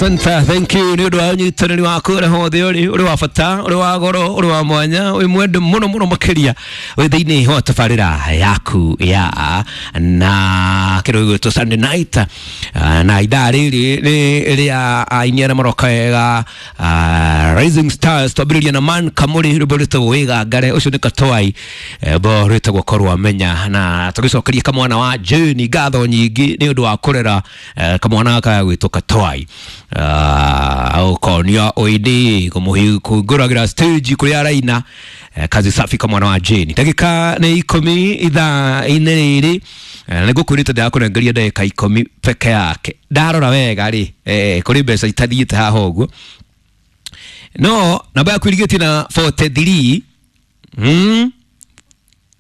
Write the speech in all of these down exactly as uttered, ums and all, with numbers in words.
Asante, thank you nĩ ũndũ wa ũnyitanĩri waku ũrĩa hothe ũrĩ ũrĩ wa bata ũrĩ wa goro ũrĩ wa mwanya wĩ mwende mũno mũno makĩria wĩ thĩinĩ wa tabarĩra yaku ya na kĩndũ gĩgwĩtwo Sunday night. Ah, na ithaa rĩrĩ nĩ rĩa aini arĩa maroka wega, ah, Rising Stars. Twambĩrĩria na Man Kamũrĩ, rwĩmbo rwĩtagwo Wĩgangare, ũcio nĩ Katwai, rwĩmbo rwĩtagwo Korwo Amenya, na tũgĩcokeria kamwana wa Jane ngatho nyingĩ nĩ ũndũ wa kũrera eh, kamwana gaka gwĩtwo Katwai, ũkonia ũini kũmũhingũragĩra stage kũrĩa araina. eh, kazi safi kamwana wa Jane. Ndagĩka nĩ ikũmi ithaa-inĩ rĩrĩ. eh, nĩ ngũkwĩrĩte ndĩrakũnengeria ndagĩka ikũmi peke yake. Ndarora wega rĩ, eh, kũrĩ mbeca itathiĩte haha ũguo, no namba yaku ĩrigĩtie na mĩrongo ĩna na ithatũ, mm?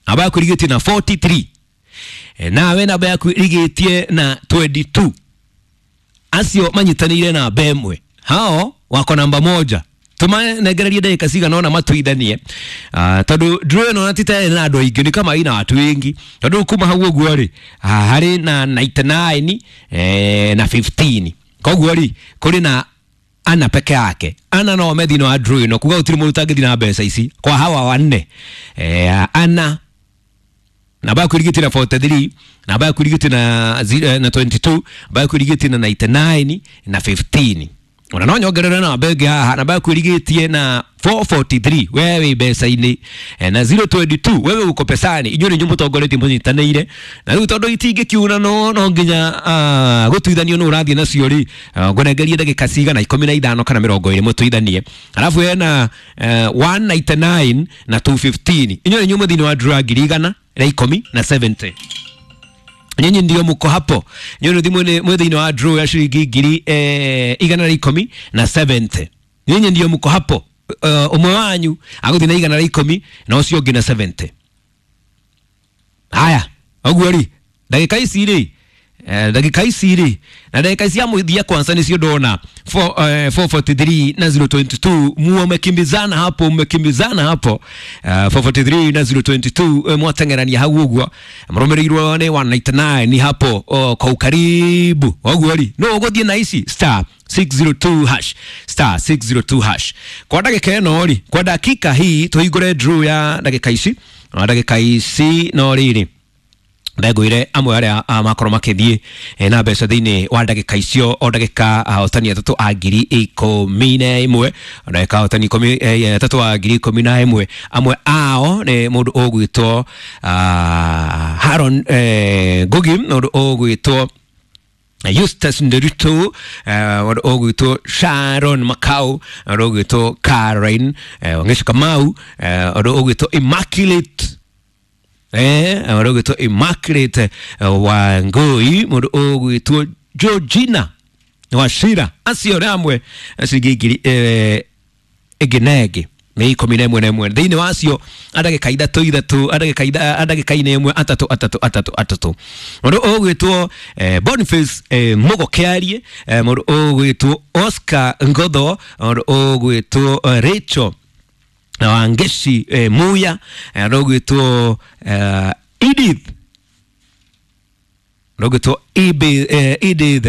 Namba yaku ĩrigĩtie na mĩrongo ĩna na ithatũ. Eh, nawe namba yaku ĩrigĩtie na mĩrongo ĩĩrĩ na igĩrĩ, acio manyitanĩire namba ĩmwe, hao wako namba moja. Tũmanengererie ndagĩka cigana ũna matuithanie, uh, tondũ draw ĩno na ti ta ĩna andũ aingĩ, nĩ kama ina watu wengi, tondũ kuma hau ũguo rĩ, ah, harĩ na mĩrongo kenda na kenda eh, na ikũmi na ithano. Koguo rĩ, kũrĩ na ana peke yake, ana no me thĩinĩ wa draw ĩno, kuga gũtirĩ mũndũ ũtangĩthiĩ na mbeca ici kwa hawa wanne. eh, ana namba yaku ĩrigĩtie na mĩrongo ĩna na ithatũ, namba yaku ĩrigĩtie na zi- eh, na mĩrongo ĩĩrĩ na igĩrĩ, namba yaku ĩrigĩtie na mĩrongo kenda na kenda na ikũmi na ithano. Ona no nyongerere namba ĩngĩ haha, namba yaku ĩrigĩtie na mĩrongo ĩna na inya, wewe wĩ mbeca-inĩ, eh, na zeru mĩrongo ĩĩrĩ na igĩrĩ, wewe uko pesani. Inyuĩ nĩ inyuĩ mũtongoretie mũnyitanĩire, na rĩu tondũ itingĩkiuna no no nginya ah, gũtuithanio nũ ũrathiĩ nacio rĩ, ah, ngũnengerie ndagĩka cigana, ikũmi na ithano kana mĩrongo ĩrĩ, mũtuithanie. Alafu hena eh, mĩrongo kenda na kenda na magana meerĩ na ikũmi, inyuĩ nĩ inyuĩ mwĩ thĩinĩ wa draw ya ngiri igana rĩa ikũmi na mĩrongo mũgwanja. Nyinyi ndio mko hapo, nyinyi ndio mwĩ mwĩ thĩinĩ wa draw ya ciringi ngiri eh, igana rĩa ikũmi na mĩrongo mũgwanja. Nyinyi ndio mko hapo. uh, ũmwe wanyu agũthiĩ na igana rĩa ikũmi na ũcio ũngĩ na mĩrongo mũgwanja. Haya, ũguo rĩ, ndagĩka ici rĩ, eh, ndagĩka ici rĩ, na ndagĩka cia mũthia kwanza nĩcio ndona four, eh, mia nne arobaini na tatu na zeru ishirini na mbili, mumekimbizana hapo, mmekimbizana hapo, uh, mia nne arobaini na tatu na zeru ishirini na mbili, eh, mwateng'erania hau ũguo, mũrũmĩrĩirwo nĩ mia moja tisini na kenda hapo, oh, kwa ukaribu. Ũguo rĩ, no ũgũthiĩ na ici star six zero two hash, star six zero two hash. Kwa ndagĩka ĩno rĩ, kwa dakika hii tũhingũre draw ya ndagĩka ici, na ndagĩka ici no rĩrĩ ndengũire amwe arĩa ah, makorwo makĩthiĩ eh, na mbeca thĩinĩ wa ndagĩka icio, o ndagĩka ahotani atatũ a ngiri ikũmi na ĩmwe, o ndagĩka ahotani ikũmi eh, atatũ a ngiri ikũmi na ĩmwe. Amwe ao nĩ mũndũ ũgwĩtwo ah, Haron eh, Ngugi, mũndũ ũgwĩtwo Eustace Nderitu, mũndũ ũgwĩtwo Sharon Makau, mũndũ ũgwĩtwo Caroline eh, Wangechi Kamau, eh, mũndũ ũgwĩtwo Immaculate eh mũndũ ũgwĩtwo Immaculate eh, Wangui, mũndũ ũgwĩtwo Georgina Wachira. Acio nĩ amwe ciringi ngiri eh, ĩngĩ na ĩngĩ nĩ ikũmi na ĩmwe na ĩmwe thĩinĩ wacio, a ndagĩka ithatũ ithatũ, a ndagĩka itha- a ndagĩka-inĩ ĩmwe atatũ atatũ atatũ atatũ. Mũndũ ũgwĩtwo eh, Boniface eh, Mũgo Kĩarie, eh, mũndũ ũgwĩtwo Oscar Ngotho, mũndũ ũgwĩtwo eh, Rachel Wangeshi eh, Muya, eh, mũndũ ũgwĩtwo eh, Edith, mũndũ ũgwĩtwo Ibe- eh, Edith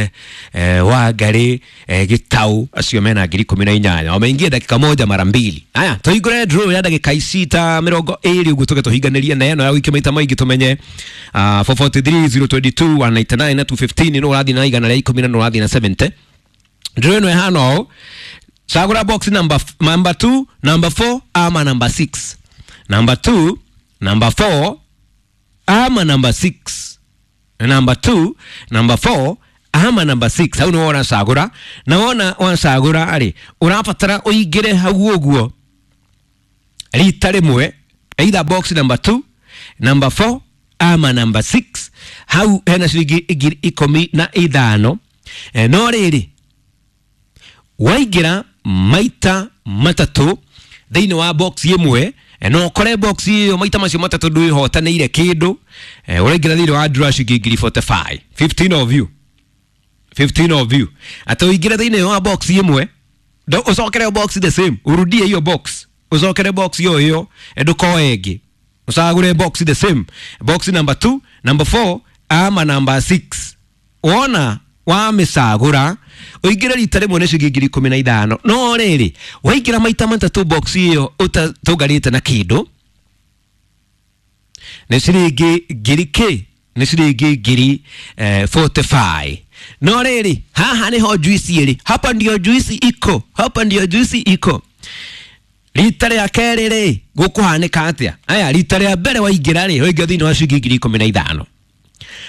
eh, Wangari eh, Gitau. Acio mena ngiri ikũmi na inyanya, wameingia dakika moja mara mbili. Haya, tũhingũre draw ya ndagĩka ici ta mĩrongo ĩrĩ ũguo, tũke tũhinganĩrie na ĩno ya wiki maita maingĩ, tũmenye uh, mia nne arobaini na ithatũ, zeru ishirini na mbili, mia moja tisini na kenda na magana meerĩ na ikũmi, nũ ũrathiĩ na igana rĩa ikũmi na nũ ũrathiĩ na mĩrongo mũgwanja. Draw ĩno ĩhana ũũ: chagura box number, number two, number four ama number six. Number two, number four ama number six. Number two, number four ama number six, hau nĩwe ũracagũra. Na wona wacagũra rĩ, ũrabatara ũingĩre hau ũguo rita rĩmwe, either box number two, number four ama number six. Hau hena ciringi ngiri ikũmi na ithano. Eh, no rĩrĩ, waingĩra maita matatũ thĩinĩ wa box ĩmwe, eh, no ũkore box ĩyo maita macio matatũ ndwĩhotanĩire kĩndũ, eh, ũraingĩra thĩinĩ wa draw ciringi ngiri mĩrongo ĩna na ithano. fifteen of you, fifteen of you, atĩ ũingĩre thĩinĩ wa box ĩmwe, ndo- ũcokere box the same, urudie hiyo box, ũcokere box hiyo hiyo, eh, ndũkoe ĩngĩ, ũcagũre box the same, box number two, number four ama number six. Wona Wamĩcagũra ũingĩre rita rĩmwe nĩ ciringi ngiri ikũmi na ithano. No rĩrĩ, waingĩra maita matatũ box ĩyo ũtatũnganĩte na kĩndũ nĩ ciringi ngiri kĩ, nĩ ciringi ngiri eh, forty-five. No rĩrĩ, haha nĩho juice ĩrĩ, hapa ndio juice iko, hapa ndio juice iko. Rita rĩa kerĩ rĩ, gũkũhanĩka atĩa? Aya, rita rĩa mbere waingĩra rĩ, waingĩra thĩinĩ wa ciringi ngiri ikũmi na ithano.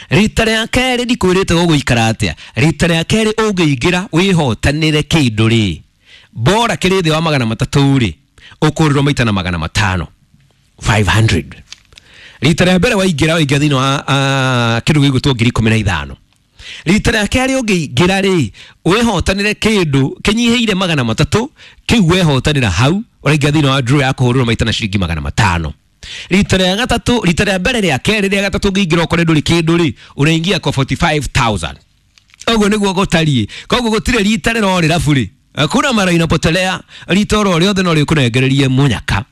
Rita rĩa kerĩ ndikwĩrĩte gũgũikara atĩa. Rita rĩa kerĩ ũngĩingĩra wĩhotanĩre kĩndũ rĩ, bora kĩrĩ thĩ wa magana matatũ rĩ, ũkũrĩrwo maita na magana matano, five hundred. Rita rĩa mbere waingĩra, waingĩra thĩinĩ wa uh, kĩndũ gĩgwĩtwo ngiri ikũmi na ithano. Rita rĩa kerĩ ũngĩingĩra rĩ, wĩhotanĩre kĩndũ kĩnyihĩire magana matatũ, kĩu wehotanĩra hau, ũraingĩra thĩinĩ wa draw ya kũhũrĩrwo maita na ciringi magana matano. Rita rĩa gatatũ, rita rĩa mbere rĩa kerĩ rĩa gatatũ ũngĩingĩra ũkore ndũrĩ kĩndũ rĩ, ũraingia kwa forty-five thousand. Ũguo nĩguo gũtariĩ. Koguo gũtirĩ rita rĩrorĩra bure. Hakuna mara inapotelea, rita oro rĩothe no rĩkũnengererie mũnyaka.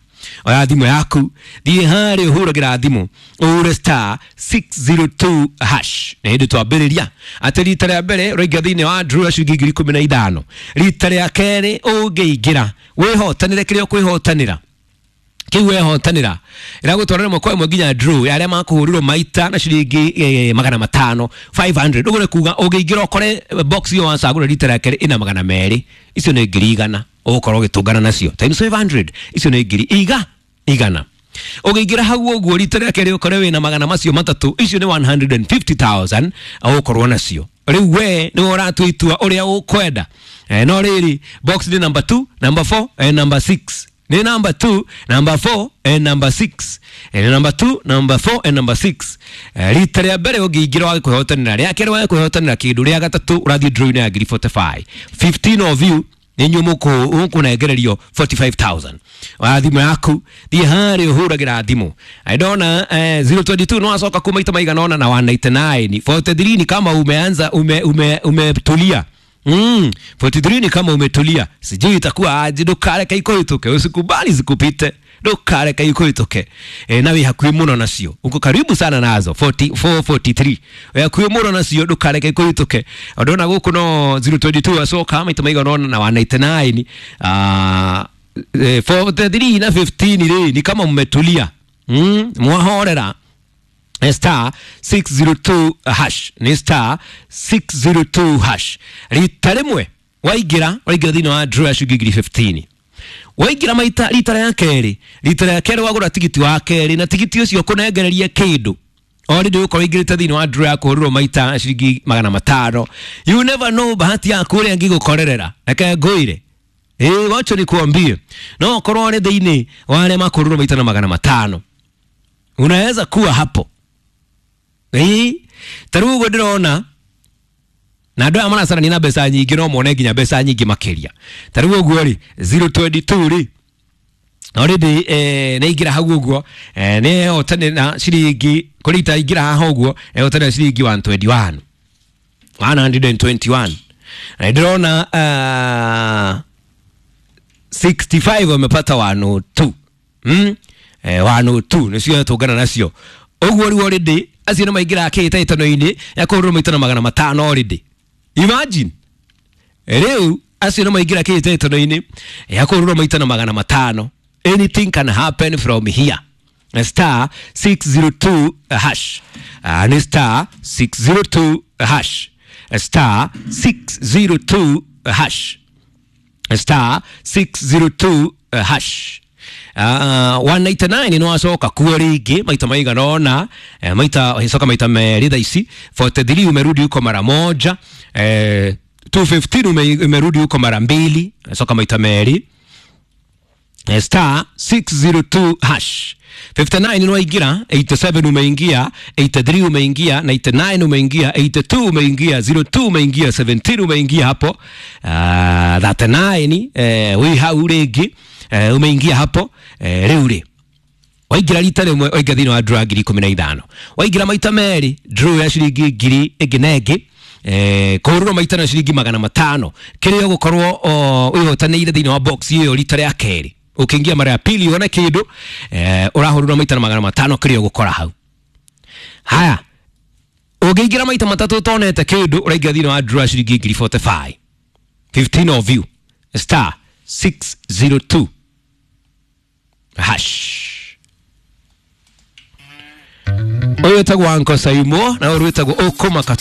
Oya thimũ yaku, thiĩ harĩa ũhũragĩra thimũ, ũhũre star six zero two hash. Na hĩndĩ twambĩrĩria atĩ rita rĩa mbere ũraingĩra thĩinĩ wa draw ya ciringi ngiri ikũmi na ithano. Rita rĩa kerĩ ũngĩingĩra wĩhotanĩre kĩrĩa ũkwĩhotanĩra, kĩu wehotanĩra ĩragũtwara rĩmwe kwa ĩmwe nginya draw ya arĩa makũhũrĩrwo maita na ciringi eh, magana matano, five hundred. Ũguo nĩ kuga ũngĩingĩra ũkore box ĩyo wacagũra rita rĩa kerĩ ĩna magana merĩ, icio nĩ ngiri igana ũgũkorwo ũgĩtũngana nacio times five hundred, icio nĩ ngiri iga igana. Ũngĩingĩra hau ũguo rita rĩa kerĩ ũkore wĩna magana macio matatũ, icio nĩ one hundred and fifty thousand ũgũkorwo nacio. Rĩu we nĩwe ũratua itua ũrĩa ũkwenda. Eh, no rĩrĩ, box nĩ number two, number four and number six. Ni number two, number four and number six. Eh, number two, number four and number six. Eh, rita rĩa mbere ũngĩingĩra wage kwĩhotanĩra, rĩa kerĩ wage kwĩhotanĩra kĩndũ, rĩa gatatũ ũrathiĩ draw-inĩ ya ngiri forty-five. fifteen of you nĩ inyuĩ mũkũnengererio forty-five thousand. Oya thimũ yaku, thiĩ harĩa ũhũragĩra thimũ. Ndona, eh, zero twenty-two no wacoka kuma maita maigana ũna na one ninety-nine. forty-three ni kama umeanza, ume, ume, umetulia. Mm, forty-three ni kama umetulia. Sijui itakuwa aje, ndũkareke ikũhĩtũke, usikubali zikupite. Ndũkareke ikũhĩtũke. E, na wĩ hakuhĩ mũno nacio. Uko karibu sana nazo. forty-four, forty-three. Wĩ hakuhĩ mũno nacio, ndũkareke ikũhĩtũke. Ndona gũkũ no zero twenty-two acoka maita maigana ũna na one ninety-nine. Ah, eh, forty-three na fifteen rĩ, ni kama mmetulia. Mm, mwahorera. Star six zero two hash. Ni star six zero two hash. Rita rĩmwe waingĩra, waingĩra thĩinĩ wa draw ya ciringi ngiri fifteen. Waingĩra maita rita rĩa kerĩ, rita rĩa kerĩ wagũra tigiti wa kerĩ, na tigiti ũcio ũkũnengereria kĩndũ. Already ũkorwo ũingĩrĩte thĩinĩ wa draw ya kũhũrĩrwo maita ciringi magana matano. You never know bahati yaku ũrĩa ĩngĩgũkorerera. Reke ngũire. Ĩĩ, wacha nikuambie. No ũkorwo ũrĩ thĩinĩ wa arĩa makũhũrĩrwo maita na magana matano. Unaweza kuwa hapo. Ĩĩ, ta rĩu ũguo ndĩrona, na andũ aya maracarania na mbeca nyingĩ no mone nginya mbeca nyingĩ makĩria. Ta rĩu ũguo rĩ, zero twenty-two rĩ, already, eh, nĩ aingĩra hau ũguo, eh, nĩ ehotanĩra ciringi, kũrĩ ita aingĩra haha ũguo, ehotanĩra ciringi one twenty-one. one hundred and twenty-one. Na ndĩrona, uh, sixty-five wamepata one oh two. Mm? Eh, one oh two, nĩcio tũngana nacio. Ũguo rĩu already, acio nĩ maingĩra kĩhĩtahĩtano-inĩ ya kũhũrĩrwo maita na magana matano already. Imagine. Rĩu acio nĩ maingĩra kĩhĩtahĩtano-inĩ ya kũhũrĩrwo maita na magana matano. Anything can happen from here. Star six zero two hash. Uh, ni star six zero two hash. Star six zero two hash. Star six zero two hash. Uh, one ninety-nine no acoka kuo rĩngĩ maita maigana ũna, eh, maita coka maita merĩ thaa ici. forty-three umerudi huko mara moja, eh, two fifteen ume, umerudi huko mara mbili, coka maita merĩ. Eh, star six zero two hash. fifty-nine no waingĩra, eighty-seven umeingia, eighty-three umeingia, ninety-nine umeingia, eighty-two umeingia, zero two umeingia, seventeen umeingia hapo. Uh, thirty-nine, eh, wĩ hau rĩngĩ, eh, umeingia hapo, eh, rĩu rĩ. Waingĩra rita rĩmwe, waingĩra thĩinĩ wa draw ya ngiri ikũmi na ithano. Waingĩra maita merĩ, draw ya ciringi ngiri ĩngĩ na ĩngĩ, eh, kũhũrĩrwo maita na ciringi magana matano. Kĩrĩa ũgũkorwo, o, wĩhotanĩire thĩinĩ wa box ĩyo rita rĩa kerĩ. Ũkĩingia mara ya pili wone kĩndũ, eh, ũrahũrĩrwo maita na magana matano kĩrĩa ũgũkora hau. Haya, Ũngĩingĩra maita matatũ ũtonete kĩndũ, ũraingĩra thĩinĩ wa draw ciringi ngiri mĩrongo ĩna na ithano. fifteen of you, star six zero two hash. Ũyũ wĩtagwo Anko Saimo na ũyũ wĩtagwo Ũkũmaka.